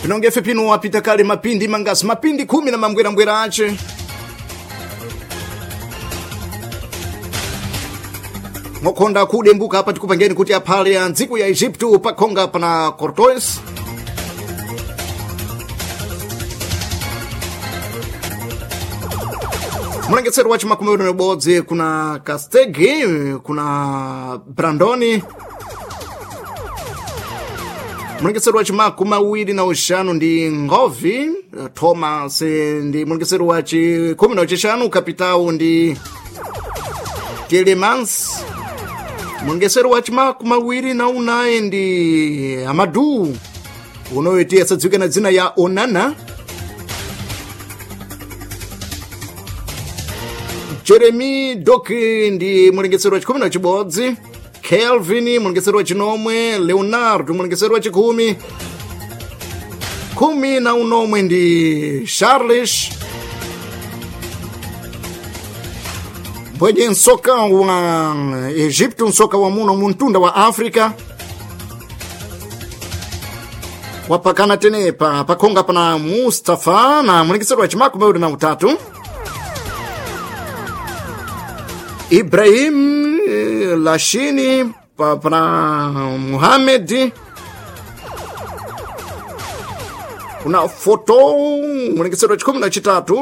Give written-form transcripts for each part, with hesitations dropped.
Pinongefe pino wapita kale mapindi mangasi mapindi 10 na mambwerambwera ace. Mokonda kudembuka apa tikupangeni kuti aphale ya ntsiku ya Egypto pakhonga pana Cortois. Mulengetsero wa chimakumi awiri na ubodzi kuna Castegi, kuna Brandoni. Mulengetsero wa chimakumi awiri na uxanu ndi Ngovi Thomas, ndi mulengetsero wa chikhumi na uchixanu kapitao ndi Telemans. Mulengetsero wa chimakumi awiri na unayi ndi Amadou unoyo tiye asadziwike na dzina ya Onana. Jeremy Doki ndi mulengetsero wa chikhumi na chibodzi, Kelvin mulengetsero wa chinomwe, Leonardo mulengetsero wa chikhumi, khumi na unomwe ndi Charles. Mbwenye nsoka wa Egypto, nsoka wa muno muntunda wa Africa wapakana tenepa pakhonga pana Mustafa na mulengetsero wa chimakumi awiri na utatu. Ibrahim Lashini pana Muhammad, kuna foto mulengetsero wa chikhumi na chitatu,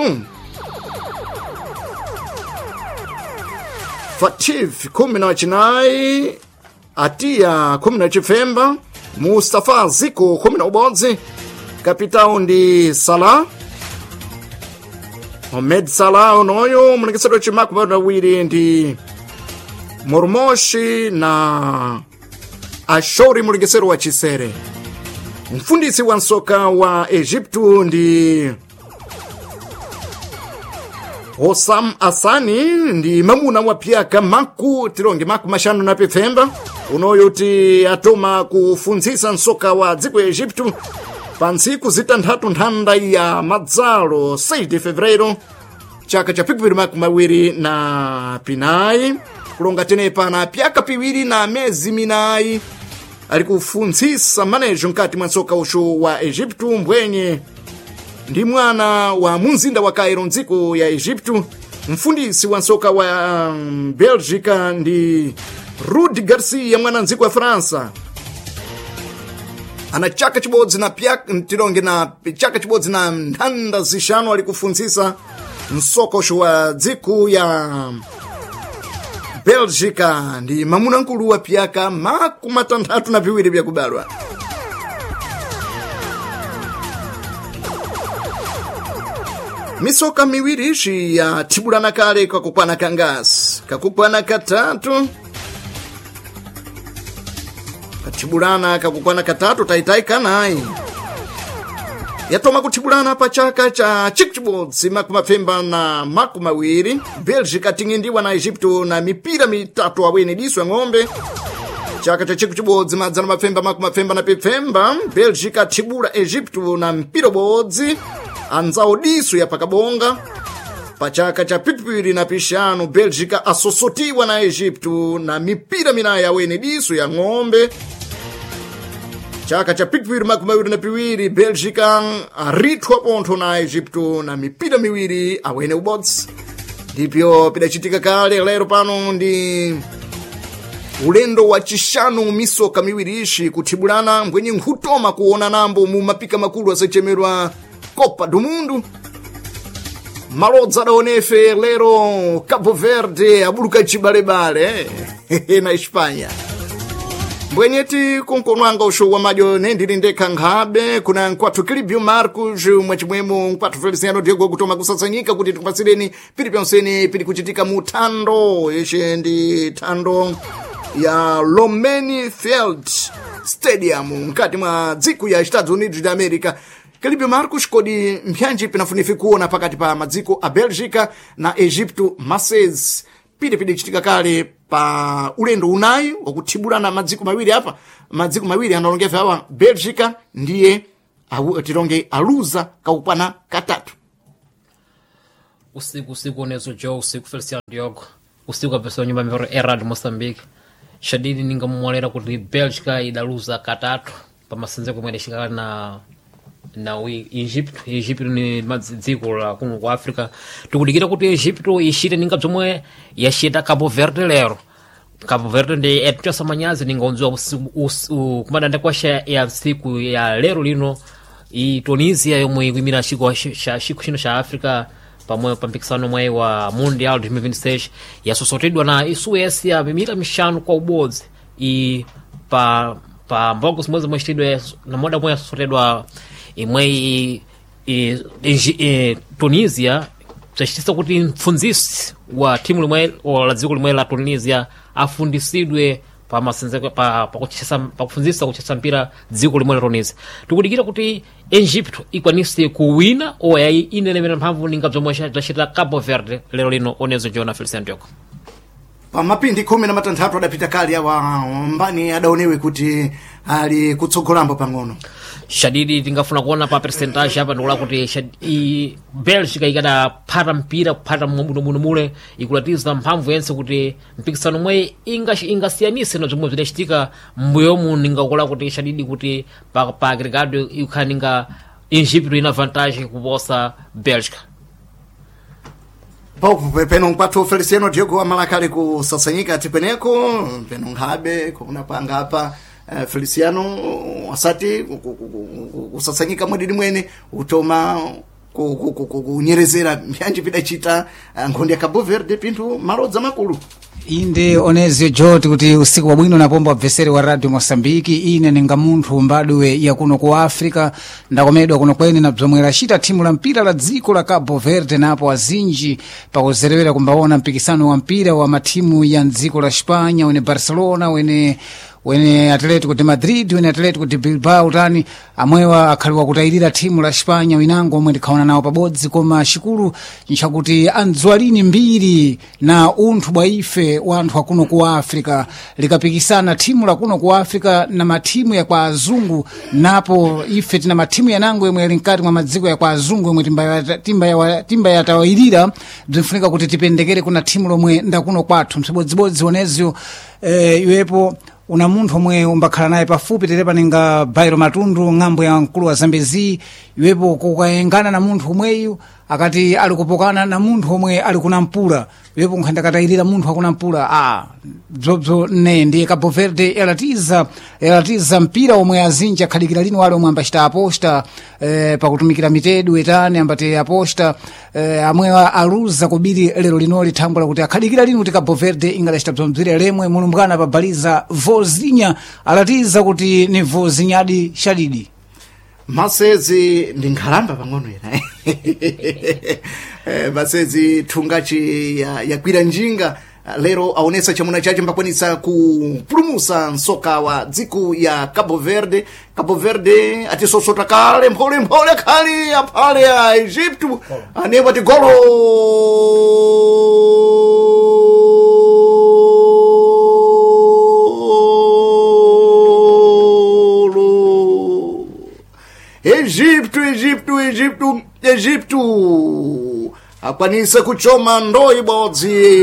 Fatif khumi na chinayi, Atiya khumi na chifemba, Mustafa Ziko khumi na ubodzi, kapitao ndi Salah Mohamed Salah unoyo mulengetsero wa chimakumi awiri na awiri ndi Mormoshi na Ashori mulengetsero wa chisere. Mfundisi wa nsoka wa Egypto ndi Hosam Asani ndi mamuna wa pyaka maku tilonge maku maxanu na pifemba unoyo ti atoma kufunzisa nsoka wa dziko ya Egypto pa ntsiku zitanthatu nthanda ya madzalo 6 de fevereiro chaka cha pikipiri makumi awiri na pinayi, kulonga tenepa na pyaka piwiri na mezi minayi ali kufunzisa manejo mkati mwa nsoka uxu wa Egypto mbwenye ndi mwana wa munzinda wa Cairo mdziko ya Egypto. Mfundisi wa nsoka wa Belgica ndi Rudi Garcia mwana mdziko wa França ana chaka chibodzi na pyaka tilonge na chaka chibodzi na nthanda zixanu ali kufunzisa msokosho wa dziko ya Belgica ndi mamuna nkulu wa pyaka makumi atanthatu na piwiri pyakubalwa. Misoka miwiri ixi yathibulana kale kakukwana kangasi kakukwana katatu kathibulana kakukwana katatu taitai kanayi yatoma kuthibulana pa chaka cha chikuchibodzi makumi mapfemba na makumi awiri. Belgica ting'indiwa na Egypto na mipira mitatu awene diso ya ng'ombe. Chaka cha chikuchibodzi madzana mapfemba makumi mapfemba na pipfemba, Belgica athibula Egypto na mpira ubodzi anzawo diso ya pakabonga. Pa chaka cha pipiri na pixanu, Belgica asosotiwa na Egypto na mipira minayi awene diso ya ng'ombe. Chaka cha pipiri makumi awiri na piwiri, Belgica arithwa pontho na Egypto na mipira miwiri awene ubodzi. Ndipyo pidacitika kale lero pano ndi ulendo wa chixanu misoka miwiri ixi kuthibulana mbwenye nkhutoma kuona nambo mu mapika makulu asachemerwa Copa do Mundo. Malodza adaonefe lero Cabo Verde abuluka chibalebale na Espanha. Mbwenyeti kunkonwanga uxu wa madyo nendili ndekha nkhabe kuna nkwathu Kilibio Marcos mwachimwemo nkwathu Feliciano Diego kutoma kusasanyika kuti tikupasireni pili pyonsene pili kuchitika mu thando ixe ndi thando ya Lomeni Field Stadium mkati mwa dziko ya Estados Unidos de America. Kelibio Marcos, kodi mpyanji pinafunifi kuona pakati pa madziko a Belgica na Egypto masezi pili chitika kale pa ulendo unayi wakuthibulana madziko mawiri apa madziko mawiri analongefe awa Belgica ndiye tilonge aluza kakukwana katatu. Usiku usiku onezo jo usiku Feliciano Diogo usiku apesa nyumba mvero Erad Mozambique shadidi ningamumwalera kuti Belgica idaluza katatu pamasenzeko mwene shikala na Na Egypto. Egypto ni dziko la kuno ku Africa. Tikudikira kuti Egypto ishite ninga bzomwe yashita Cabo Verde lero. Cabo Verde ndi etichosa manyazi ningaondziwa kumadanda kwasha ya siku ya lero lino i Tunisia yomwe ikuimira chiko chiko chino cha Africa pamwe pa mpikisano mwayi wa Mundial 2026 yasosotedwa na Suécia mimita mixanu kwa ubodzi i pa pa mbogo zimwe zomwe chitidwe na moda mwe yasosotedwa imwe Tunisia bzachitisa kuti mfundzisi wa timu limwe la dziko limwe la Tunisia afundisidwe pa masenzeko pa pa pakufundzisa kuchesa mpira dziko limwe la Tunisia. Tikudikira kuti Egypto ikwanise kuwina oyayi inelemera mphamvu ninga bzomwe bzacita Cabo Verde lero lino. Onezo Jona Feliciano Diogo. Pamapindi 16 adapita kale awa mbani adaonewe kuti ali kutsogolambo pang'ono. Shadidi tingafuna kuona pa percentage apa ndikula kuti Belgica ikadaphata mpira kuphata bwinobwino mule ikulatiza mphamvu yense kuti mpikisano mwe ingasiyanise na zomwe zidachitika mbuyomu. Ningakula kuti shadidi kuti pa agregado ikhala ninga Egypto ina vantagem kuposa Belgica. Peno nkwathu Feliciano Diogo amalakale kusasanyika ati peneko peno nkhabe kuona panga apa Feliciano asati kusasanyika mwadidi mwene utoma kunyerezera mbyanji pidachita nkhondo ya Cabo Verde pinthu malodza makulu. Inde onezio joti kuti usiku wabwino napomba wabveseri wa radio Mosambiki. Ine ninga munthu mbadwe ya kuno ku Africa, ndakomedwa kuno kwene na bzomwe lacita thimu la mpira la dziko la Cabo Verde napo azinji pakuzerewera kumbaona mpikisano wa mpira wa mathimu ya mdziko la Spanya wene Barcelona wene Atletico de Madrid wene Atletico de Bilbao tani amwewa akhaliwa kutayirira thimu la Spanya winango omwe ndikhaona nawo pabodzi. Koma xikulu nchakuti andziwalini mbiri na unthu bwa ife wanthu akuno ku Africa likapikisana thimu la kuno ku Africa na mathimu ya kwa azungu, napo ife tina mathimu yanango yomwe yali mkati mwa madziko ya kwa azungu yomwe timba yatawayirira bzinfunika kuti tipendekere kuna thimu lomwe ndakuno kwathu msibodzibodzi onezyo iwepo una munthu omwe umbakhala naye pafupi tere paninga Bairo Matundu ng'ambo ya mkulu wa Zambezi, iwepo kukayengana na munthu omweyu akati ali kupokana na munthu omwe ali kuna mpula, iwepo nkhanda katayirira munthu akuna mpula bzobzo ne ndiye Cabo Verde yalatiza mpira omwe azinji akhalikira lino wale omwe ambachita aposta pakutumikira mitedu etani ambati aposta amwe aluza kubiri lero linoli thangwe lakuti akhalikira lino kuti Cabo Verde ingadacita bzomdzire lemwe mulumbwana pabaliza vozinya alatiza kuti ni vozinyadi shadidi. Masezi ndi nkhalamba pang'ono ena masezi thungaci yakwira njinga lero aonesa chamuna chace mbakwanisa kupulumusa msoka wa dziko ya Cabo Verde. Cabo Verde atisosota kale mpholemphole khali aphale a Egypto anepo ati golo Egipto, Egipto, Egipto, Egipto akwanisa kuchoma ndoo ibodzi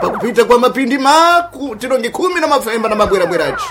pakupita kwa mapindi maku tilongi 10 na mafemba na mabwerabweraci.